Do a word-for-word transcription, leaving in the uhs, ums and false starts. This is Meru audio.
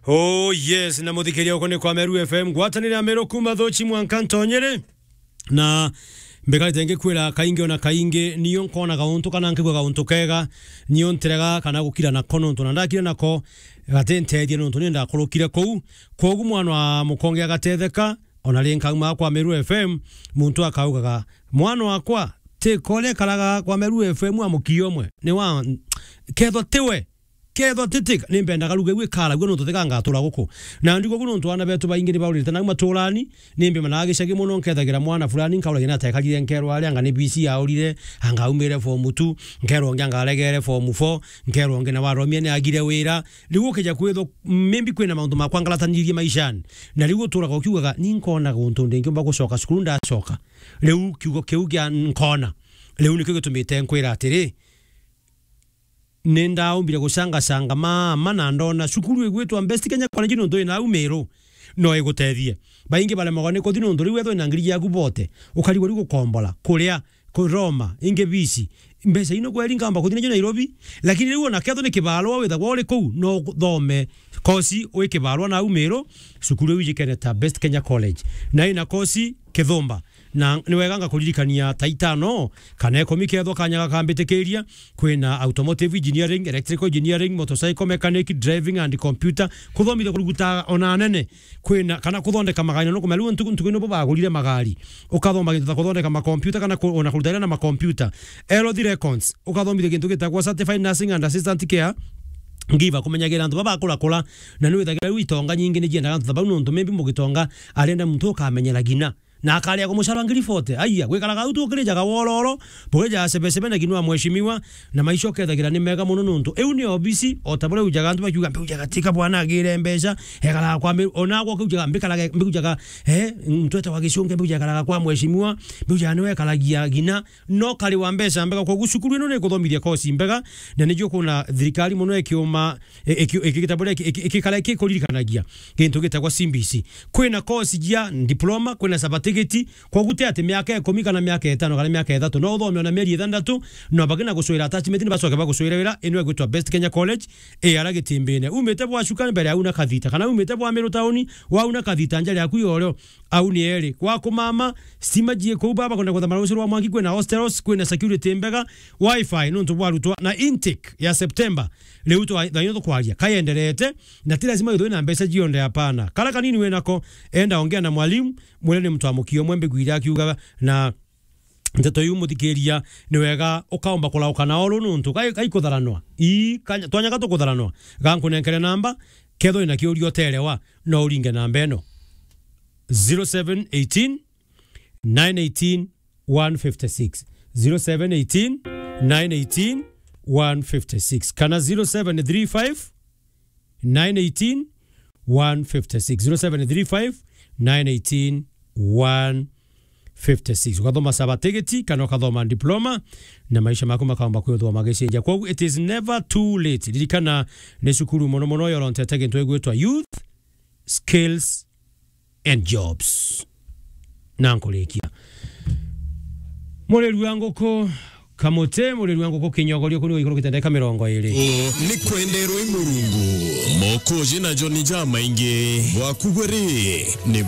Oh yes, na muthikiria uko ni kwa Meru F M, ngwatanire ya Meru kuma Thochi mwanka Ntonyere. Na mbekarite ngikwira kaingi ona kaingi, niyo nkona gauntu kana nkigua gauntu kega, niyo ntirega kana gukira nako nontu na ndakire nako gatintethia nontu ni ndakurukire kuu. Kwogu mwana wa mukonge agatetheka, ona ri nkauma kwa Meru F M, muntu akaugaga, "Mwana wakwa, ti kore karaga kwa Meru F M a mukio umwe, ni wa kethwa tiwe." Kethwa titi, ni mbendaga ruga iu ikaragua nontu tiga ngatura guku. Na ndigo gu nontu aana betu baingi ni baurite nau maturani, ni mbimanaga gicagi mono, nkethagira mwana fulani, nkauragia ni atekarire, nkerwa aria anga ni B C aurire, anga aumire form two, nkerwa ungi anga aregere form four, nkerwa ungi na waromia ni agire wira. Riu ukija kwithwa, maybe kwina mauntu makwa ngaratanirie maishani. Na riu uturaga ukiugaga, "Ni nkona guntu ndingiumba gucoka cukuru ndacoka." Riu kiugo kiu kia nkona, riu nikio gitumite nkwira atiri, ni ndaumbire gucangacanga mama na ndona cukuru igwitwa Best Kenya College nontu ina au Meru no igutethie. Baingi baremagwa ni kuthi nontu riu wethwa wina ngiri yaku bote, ukarigwa riu gukombora, kuria, kuroma, ingi bici. Mbeca ino kweri nkamba kuthi nacio Nairobi, lakini riu ona kethwa ni kibarua withagwa uri kuu, no uthome kosi wi kibarua na au Meru, cukuru iu ijikene ta Best Kenya College. Na ina kosi kithumba. Na ni wega ngakuririkania ta itano kana ikumi kethwa kanya gakambitikiria, kwina automotive engineering, electrical engineering, motorcycle mechanic, driving and computer, kuthomithia kuruguta ona anene, kwina kana kuthondeka magari, na nukumenya riu ntuku, ntuku ino bo bagurire magari, ukathoma gintu ta kuthondeka makompyuta kana ku-, ona kuruta wira na makompyuta, health records, ukathomithia gintu gitagwa certified nursing and assistant care, ngiva kumenyagira antu baba bakurakura, na ni withagira riu itonga nyingi ni jiendaga antu ta bau, nontu maybe mugitonga arenda muntu ukamenyera gina. Na akaria kumucara ngiri forty. Aiya, gwikaraga au tukirijaga wororo, burijaga sebesebe na ginua mheshimiwa, na maisha ukethagira ni mega mono nontu. Iu ni obisi, o ta buria ujaga antu bakiuga, "Mbiujaga tika bwana agire mbeca, ekaraga kwa mi-," ona gwa kiujaga, "Mbikarage, mbiujaga, eh, ntwete wa gicunge, mbiujaga ekaraga kwa mheshimiwa, mbiujaga niwe ekaragia gina." No kari wa mbeca mbega, kwogu cukuru ino ni ikuthomithia kosi mbega, na nijo kuna thirikari mono ikiuma, i-, iki-, iki-, gitabu ria iki-, iki-, ikikara ikikuririkanagia gintu gitagwa C B C. Kwina kosi jia diploma, kwina certificate, kwogu ti ati miaka ikumi kana miaka itano kana miaka ithatu, no uthome ona mieri ithandatu, no baki na gucwira attachment, ni bacoke bagucwire wira. Ino igwitwa Best Kenya College, i ara Gitimbine. Umite bwa Chuka mbere au na Kathita, kana umite bwa Meru tauni, wau na Kathita njara yaku yorio, au ni eri. Gwa kumama, stima jie kuu baba, kwenda kuthamara rucio rwa mwanki, kwina hostels, kwina security mbega, wifi nontu bwa arutwa, na intake ya September, riu twa-, thaino tukwaria, kayenderete, na ti lazima withwe na mbeca cionthe, hapana. Kara kanini winako, enda ongea na mwalimu, mwire ni mtu wa mukio umwe mbigwire akiuga, na nteto iu muthikiria, ni wega ukaomba kurauka na oru nontu gai-, gaikutharanwa. Ii, kanya-, twanyaga tukutharanwa. Gankunenkere namba, kethwa wina kiuria uterewa, no uringe namba ino. Zero seven eighteen, nine eighteen, one fifty-six. Zero seven eighteen, nine eighteen, one fifty-six. Kana zero seven three five, nine eighteen, one fifty-six. Zero seven three five, nine eighteen, one fifty-six. Ukathoma certificate kana ukathoma diploma, na maisha maku makaomba kwithwa magicenjia. Kwogu, it is never too late. Ririkana, ni cukuru mono mono yorontete gintu igwitwa Youth Skills and Jobs. Na nkurikia. Mureri wa nguku Kamuti, mureri wa nguku Kinyogorio, kuni iguru kitendeka mirongo iri. Ni kwenderwa i Murungu. Mokoji na Joni jamaingi. Bwaku bwe ri, ni